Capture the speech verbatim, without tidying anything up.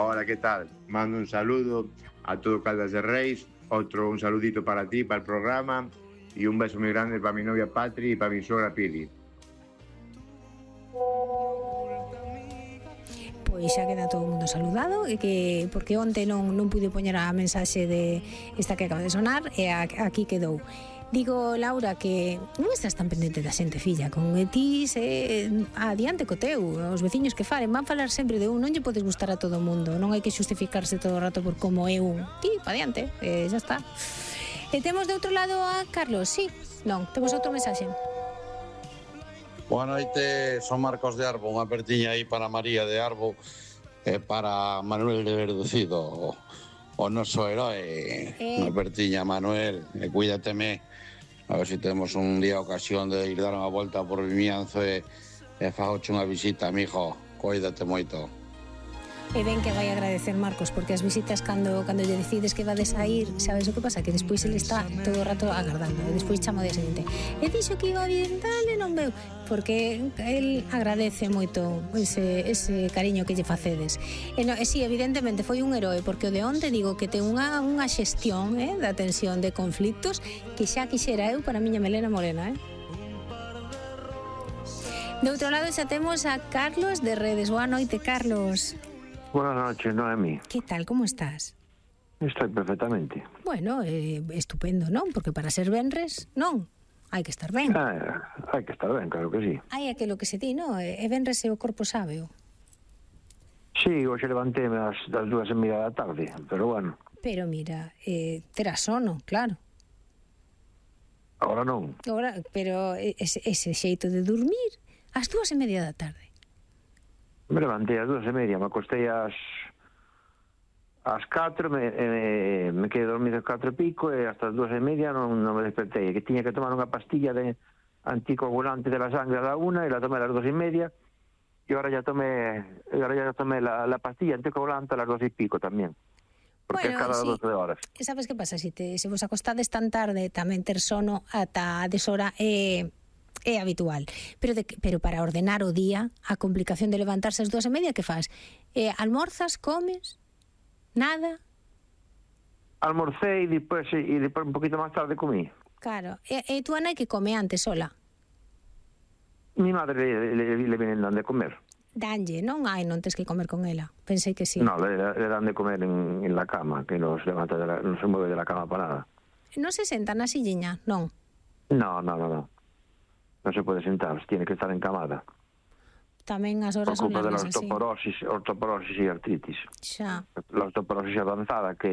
Hola, ¿qué tal? Mando un saludo a todo Caldas de Reis, otro un saludito para ti, para el programa, y un beso muy grande para mi novia Patri y para mi suegra Pili. Pois xa queda todo o mundo saludado, e que porque onte non, non pude poñer a mensaxe de esta que acaba de sonar, e a, aquí quedou. Digo, Laura, que non estás tan pendente da xente, filla, con ti se adiante co teu, os veciños que falen, van falar sempre de un, non lle podes gustar a todo o mundo, non hai que xustificarse todo o rato por como é un. Ti, pa adiante, e xa está. E temos de outro lado a Carlos, sí? Non, temos outro mensaxe. Boa noite, son Marcos de Arbo, unha apertiña aí para María de Arbo e para Manuel de Verducido, o noso heroe. Eh. Unha apertiña, Manuel, e cuídateme. A ver se si temos un día ocasión de ir dar unha volta por Vimianzo e, e fagoche unha visita, mijo. Cuídate moito. E ben que vai agradecer, Marcos, porque as visitas cando cando lle decides que vades a ir, sabes o que pasa? Que despois ele está todo o rato agardando, e despois chama o día seguinte. E dixo que iba bien, tal, e non veu, porque el agradece moito ese, ese cariño que lle facedes. E, no, e si, evidentemente, foi un heroe, porque o de onte digo que ten unha, unha xestión eh, da tensión de conflictos que xa quixera eu para a miña melena morena, eh? De outro lado xa temos a Carlos de Redes. Boa noite, Carlos. Buenas noches, Noemi. Que tal, como estás? Estou perfectamente. Bueno, eh, estupendo, non? Porque para ser venres, non? Hai que estar ben. Ah, hai que estar ben, claro que sí. Hai aquilo que se di, non? E venres e o corpo sábeo. Sí, hoxe levanteme das, das dúas e media da tarde, pero bueno. Pero mira, eh, terá sono, claro. Agora non. Agora, pero ese, ese xeito de dormir ás dúas e media da tarde. Me levantei ás dúas e media, me acostei ás ás catro, me, me, me quedei dormido ás catro e pico, e hasta as dúas e media non, non me despertei, que tiña que tomar unha pastilla de anticoagulante de la sangre a la una, e la tomé a las dos e media, e ahora ya tomé, e ahora ya tomé la, la pastilla anticoagulante a las dos e pico tamén, porque bueno, cada sí. doce horas. E sabes que pasa? Se, te, se vos acostades tan tarde, tamén ter sono ata a deshora é... Eh... é habitual, pero, de, pero para ordenar o día, a complicación de levantarse ás dúas e media, que faz? Eh, almorzas, comes, nada? Almorcei e depois, e depois un poquito máis tarde comí. Claro, e, e tú, Ana, que come antes sola? Mi madre le, le, le vienen dan de comer. Danlle, non? Ai, non tes que comer con ela. Pensei que sí. No, le, le dan de comer en, en la cama, que nos levanta de la, non se mueve de la cama para nada. Non se senta na silliña, non? No, no, no, no. Non se pode sentar, tiene que estar encamada. Tamén as horas son largas así. Por culpa de la osteoporosis, osteoporosis e artritis. Xa. La osteoporosis avanzada que